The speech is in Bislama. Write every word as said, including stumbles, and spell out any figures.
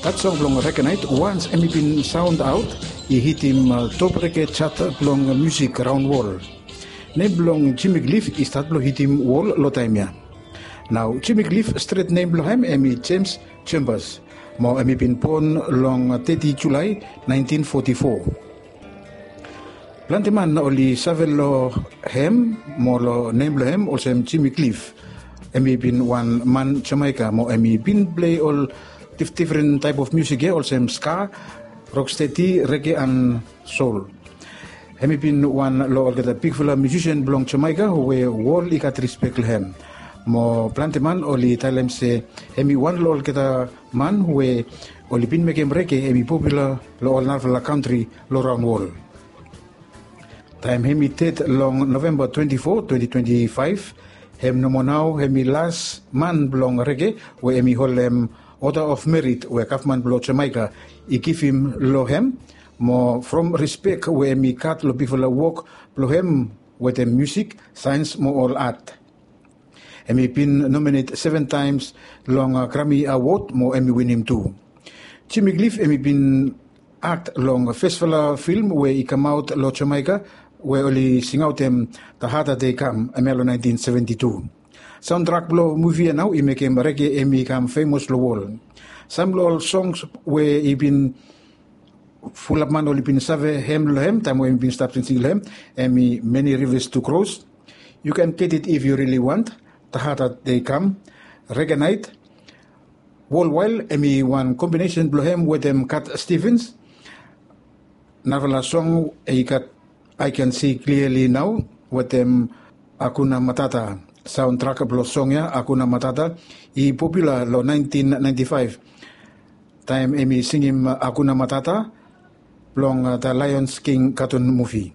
That song blong Reggae Night, once em i bin sound out, i hitim top reggae chart blong musik raon wol. Nem blong Jimmy Cliff i stat blong hitim wol long taem ya. Nao Jimmy Cliff stret nem blong hem em i James Chambers, mo em i bin bon long teti Julae naentin foti fo. Plante man oli save long hem mo long nem blong hem olsem Jimmy Cliff. Em i bin wan man Jamaika mo em i bin plei ol difdifren taep of musik ya olsem ska, rokstedi, reggae an soul. Hem i bin wan long olgeta bigfala miusisen blong Jamaika we wol i gat rispek long hem. Mo plante man oli talem se hem i wan long olgeta man we oli bin mekem reggae hem i popula long ol narafala kantri long raon wol. Taem hem i ded long Novemba twenti fo, twenti twenti faef, hem nomo nao hem i las man blong reggae we hem i holem Order of Merit we gavman blong Jamaika i givim long hem, mo from rispek we hem i gat long bigfala wok blong hem wetem musik, saens mo ol at. Hem i bin nominate seven taems long Grammy Award mo hem i winim tu. Jimmy Cliff hem i bin akt long fesfala film we i kamaot long Jamaika we oli singaotem The Harder They Come, hemia long naentin seventi tu. Saontrak blong muvi ya nao i mekem reggae hem i kam femas long wol. Sam long ol songs we i bin fulap man oli bin save hem long hem taem we hem i bin stap singsing long hem, hem i Many Rivers to Cross, You Can Get It If You Really Want, The Harder They Come, Reggae Night, Worldwide, hem i wan kombinesen blong hem wetem Cat Stevens. Narafala song i gat I Can See Clearly Now wetem Hakuna Matata. Saontrak blong song ya, Hakuna Matata, i popula long naentin naenti faef taem hem i singim Hakuna Matata blong The Lion King katun muvi.